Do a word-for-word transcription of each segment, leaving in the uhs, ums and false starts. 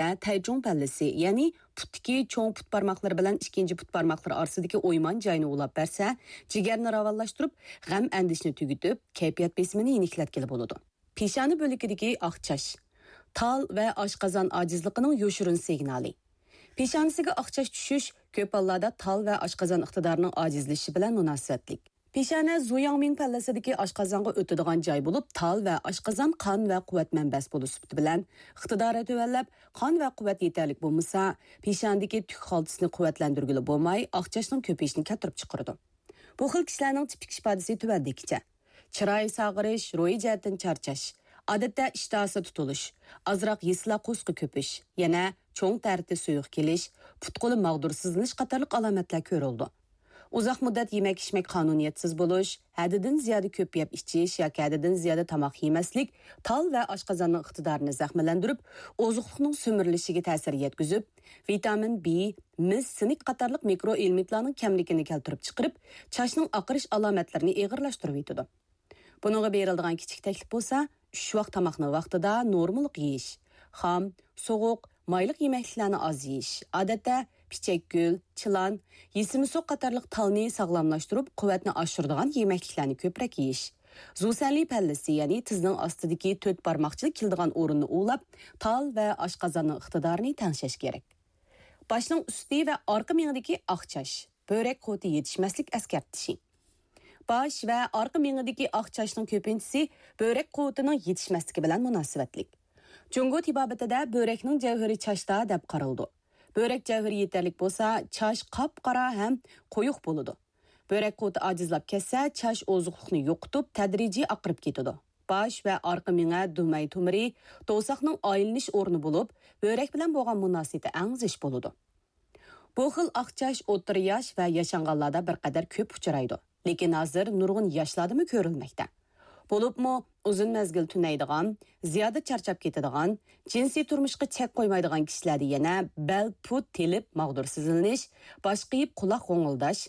ئادەتتە تەيچۇڭ پەللىسى، يەنى پۇتتىكى چوڭ پۇت بارماقلىرى بىلەن ئىككىنچى پۇت بارماقلىرى ئارىسىدىكى ئويمان جاينى ئۇلاپ بەرسە، جىگەرنى راۋانلاشتۇرۇپ، غەم-ئەندىشىنى تۈگىتىپ، كەيپىيات بېسىمىنى يېنىكلەتكىلى بولىدۇ. پېشانە بۆلىكىدىكى ئاق چاچ. تال ۋە ئاشقازان ئاجىزلىقىنىڭ يوشۇرۇن سىگنالى. پېشانىسىگە ئاق چاچ چۈشۈش كۆپ ھاللاردا تال ۋە ئاشقازان ئىقتىدارىنىڭ ئاجىزلىشىشى بىلەن مۇناسىۋەتلىك. پېشانە زۇياڭمىڭ پەللىسىدىكى ئاشقازانغا ئۆتىدىغان جاي بولۇپ، تال ۋە ئاشقازان قان ۋە قۇۋۋەت مەنبەسى بولۇش سۈپىتى بىلەن ئىقتىدارى تۆۋەنلەپ، قان ۋە قۇۋۋەت يېتەرلىك بولمىسا، پېشانىدىكى تۈك خالتىسىنى قۇۋۋەتلەندۈرگىلى بولماي، ئاق چاچنىڭ كۆپىيىشىنى كەلتۈرۈپ چىقىرىدۇ. بۇ خىل كىشىلەرنىڭ تىپىك ئىپادىسى تۆۋەندىكىچە: چىراي ساغىرىش، روھىي جەھەتتىن چارچاش، ئادەتتە ئىشتىھاسى تۇتۇلۇش، ئازراق يېسىلا قورسىقى كۆپۈش، يەنە چوڭ تەرىتى سۇيۇق كېلىش، پۇت-قولى ماغدۇرسىزلىنىش قاتارلىق ئالامەتلەر كۆرۈلىدۇ. ئۇزاق مۇددەت يېمەك-ئىچمەك قانۇنىيەتسىز بولۇش، ھەددىدىن زىيادە كۆپ يەپ ئىچىش ياكى ھەددىدىن زىيادە تاماق يېمەسلىك تال ۋە ئاشقازاننىڭ ئىقتىدارىنى زەخىملەندۈرۈپ، ئوزۇقلۇقنىڭ سۈمۈرۈلۈشىگە تەسىر يەتكۈزۈپ، ۋىتامىن بى، مىس، سىنك قاتارلىق مىكرو ئېلېمېنتلارنىڭ كەملىكىنى كەلتۈرۈپ چىقىرىپ، چاچنىڭ ئاقىرىش ئالامەتلىرىنى ئېغىرلاشتۇرۇۋېتىدۇ. بۇنىڭغا بېرىلىدىغان كىچىك تەكلىپ بولسا، ئۈچ ۋاق تاماقنى ۋاقتىدا نورمىلىق يېيىش، خام، سوغۇق، مايلىق يېمەكلىكلەرنى ئاز يېيىش، ئادەتتە پىچەكگۈل، چىلان، يېسىمىسۇ قاتارلىق تالنى ساغلاملاشتۇرۇپ، قۇۋۋەتنى ئاشۇرىدىغان يېمەكلىكلەرنى كۆپرەك يېيىش، زۇسەنلى پەللىسى، يەنى تىزنىڭ ئاستىدىكى تۆت بارماقچىلىك كېلىدىغان ئورۇننى ئۇۋىلاپ، تال ۋە ئاشقازاننىڭ ئىقتىدارىنى تەڭشەش كېرەك. باشنىڭ ئۈستى ۋە ئارقا مېڭىدىكى ئاق چاچ، بۆرەك قۇۋۋىتى يېتىشمەسلىك ئەسكەرتىشى. باش ۋە ئارقا مېڭىدىكى ئاق چاچنىڭ كۆپىنچىسى بۆرەك قۇۋۋىتىنىڭ يېتىشمەسلىكى بىلەن مۇناسىۋەتلىك. جۇڭگو تېبابىتىدە بۆرەكنىڭ جەۋھىرى چاچتا دەپ قارىلىدۇ. بۆرەك جەۋھىرى يېتەرلىك بولسا، چاچ قاپقارا ھەم قويۇق بولىدۇ. بۆرەك قۇۋۋىتى ئاجىزلاپ كەتسە، چاچ ئوزۇقلۇقنى يوقىتىپ، تەدرىجىي ئاقىرىپ كېتىدۇ. باش ۋە ئارقا مېڭە دۈمەي تومۇرى دوۋساقنىڭ ئايلىنىش ئورنى بولۇپ، بۆرەك بىلەن بولغان مۇناسىۋىتى ئەڭ زىچ بولىدۇ. بۇ خىل ئاق چاچ ئوتتۇرا ياش ۋە ياشانغانلاردا بىر قەدەر كۆپ ئۇچرايدۇ، لېكىن ھازىر نۇرغۇن ياشلاردىمۇ كۆرۈلمەكتە. بولۇپمۇ ئۇزۇن مەزگىل تۈنەيدىغان، زىيادە چارچاپ كېتىدىغان، جىنسىي تۇرمۇشقا چەك قويمايدىغان كىشىلەردە يەنە بەل، پۇت تېلىپ ماغدۇرسىزلىنىش، باش قېيىپ قۇلاق غوڭۇلداش،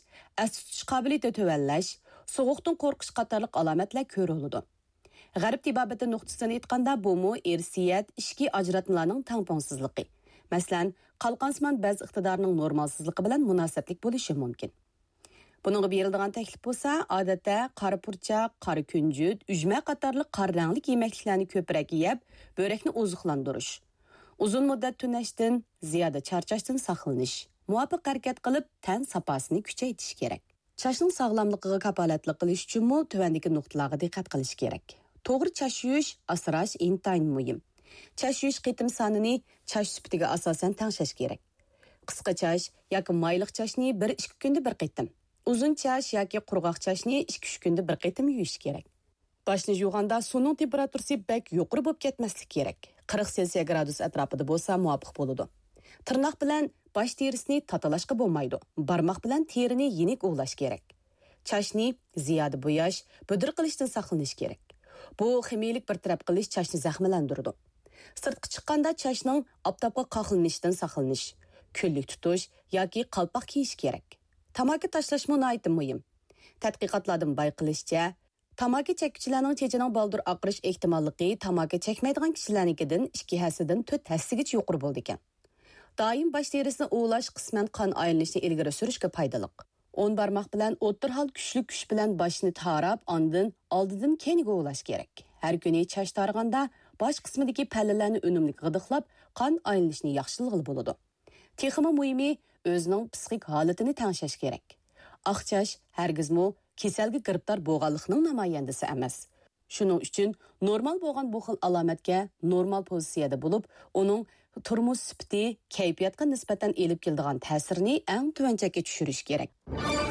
ئەستە تۇتۇش قابىلىيىتى تۆۋەنلەش، سوغۇقتىن قورقۇش قاتارلىق ئالامەتلەر كۆرۈلىدۇ. غەرب تېبابىتى نۇقتىسىدىن ئېيتقاندا، بۇمۇ ئىرسىيەت، ئىچكى ئاجراتمىلارنىڭ تەڭپۇڭسىزلىقى، مەسىلەن، قالقانسىمان بەز ئىقتىدارىنىڭ نورمالسىزلىقى بىلەن مۇناسىۋەتلىك بولۇشى مۇمكىن. بۇنىڭغا بېرىلىدىغان تەكلىپ بولسا، ئادەتتە قارا پۇرچاق، قارا كۈنجۈت، ئۈجمە قاتارلىق قارا رەڭلىك يېمەكلىكلەرنى كۆپرەك يەپ، بۆرەكنى ئوزۇقلاندۇرۇش، ئۇزۇن مۇددەت تۈنەشتىن، زىيادە چارچاشتىن ساقلىنىش، مۇۋاپىق ھەرىكەت قىلىپ، تەن ساپاسىنى كۈچەيتىش كېرەك. چاچنىڭ ساغلاملىقىغا كاپالەتلىك قىلىش ئۈچۈنمۇ تۆۋەندىكى نۇقتىلارغا دىققەت قىلىش كېرەك. توغرا چاچ يۇيۇش، ئاسراش ئىنتايىن مۇھىم. چاچ يۇيۇش قېتىم سانىنى چاچ سۈپىتىگە ئاساسەن تەڭشەش كېرەك. قىسقا چاچ ياكى مايلىق چاچنى بىر ئىككى كۈندە بىر قېتىم، ئۇزۇن چاچ ياكى قۇرغاق چاچنى ئىككى ئۈچ كۈندە بىر قېتىم يۇيۇش كېرەك. باشنى يۇغاندا سۇنىڭ تېمپېراتۇرىسى بەك يۇقىرى بولۇپ كەتمەسلىكى كېرەك. قىرىق سېلسىيە گرادۇس ئەتراپىدا بولسا مۇۋاپىق بولىدۇ. تىرناق بىلەن باش تېرىسىنى تاتىلاشقا بولمايدۇ. بارماق بىلەن تېرىنى يېنىك ئۇۋۇلاش كېرەك. چاچنى زىيادە بوياش، بۈدۈر قىلىشتىن ساقلىنىش كېرەك. بۇ خىمىيىلىك بىر تەرەپ قىلىش چاچنى زەخىملەندۈرىدۇ. سىرتقا چىققاندا چاچنىڭ ئاپتاپقا قاقلىنىشتىن ساقلىنىش، كۈنلۈك تۇتۇش ياكى قالپاق كىيىش كېرەك. تاماكا تاشلاشمۇ ناھايىتى مۇھىم. تەتقىقاتلاردىن بايقىلىشىچە، تاماكا چەككۈچىلەرنىڭ چېچىنىڭ بالدۇر ئاقىرىش ئېھتىماللىقى تاماكا چەكمەيدىغان كىشىلەرنىڭكىدىن ئىككى ھەسسىدىن تۆت ھەسسىگىچە يۇقىرى بولىدىكەن. دائىم باش تېرىسىنى ئۇۋۇلاش قىسمەن قان ئايلىنىشنى ئىلگىرى سۈرۈشكە پايدىلىق. ئون بارماق بىلەن ئوتتۇرا ھال كۈچلۈك كۈچ بىلەن باشنى تاراپ، ئاندىن ئالدىدىن كەينىگە ئۇۋۇلاش كېرەك. ھەر كۈنى چاچ تارىغاندا باش قىسمىدىكى پەللىلەرنى ئۈنۈملۈك غىدىقلاپ، قان ئايلىنىشنى ياخشىلىغىلى بولىدۇ. تېخىمۇ مۇھىمى، ئۆزىنىڭ پسىخىك ھالىتىنى تەڭشەش كېرەك. ئاق چاچ ھەرگىزمۇ كېسەلگە گىرىپتار بولغانلىقنىڭ نامايەندىسى ئەمەس. شۇنىڭ ئۈچۈن نورمال بولغان بۇ خىل ئالامەتكە نورمال پوزىتسىيەدە بولۇپ، ئۇنىڭ تۇرمۇش سۈپىتى، كەيپىياتقا نىسبەتەن ئېلىپ كېلىدىغان تەسىرىنى ئەڭ تۆۋەن چەككە چۈشۈرۈش كېرەك.